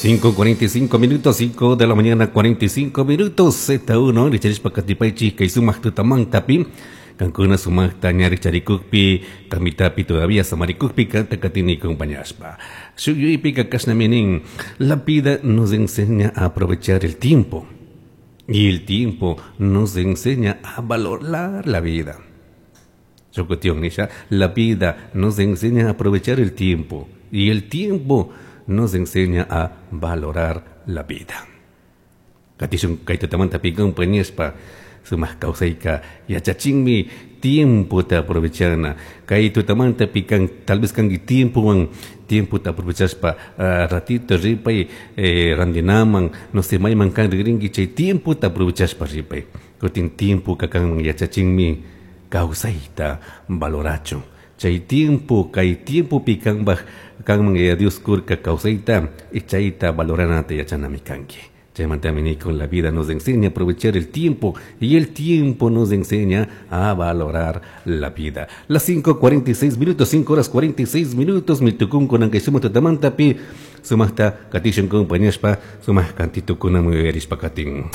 5:45 minutos, 5 de la mañana 45 minutos, Z1, richarishpa katipaychik kay sumak tutamantapi, kankuna sumakta ña richarikukpi, kamitapi todavía samarikukpi kanta katini acompañashpa. Shuk yuyaypika kashnami nin, la vida nos enseña a aprovechar el tiempo y el tiempo nos enseña a valorar la vida. Shuk cuestión nisha, la vida nos enseña a aprovechar el tiempo y el tiempo nos enseña a valorar la vida. Katishun kay tutamantapi compañashpa sumak kawsayka yachachinmi tiempota aprovechana. Kay tutamantapi kan tal vez kanki tiempowan tiempota aprovechashpa ratito ripay randinaman, no sé, mayman kan rigrinki chay tiempota aprovechashpa ripay. Kutin tiempo kanman yachachinmi kawsayta valorachun. Chay tiempo, kay tiempopi kanpaj kanman Yaya Dios kurka kawsayta y chayta valoranata yachanami kanki. Chaymantami nikun la vida nos enseña a aprovechar el tiempo y el tiempo nos enseña a valorar la vida. Las 5:46 minutos, 5 horas 46 minutos, mitukun kunan kay sumak tutamantapi, sumakta katishun compañashpa, sumak kantitukuna muyarishpa katin.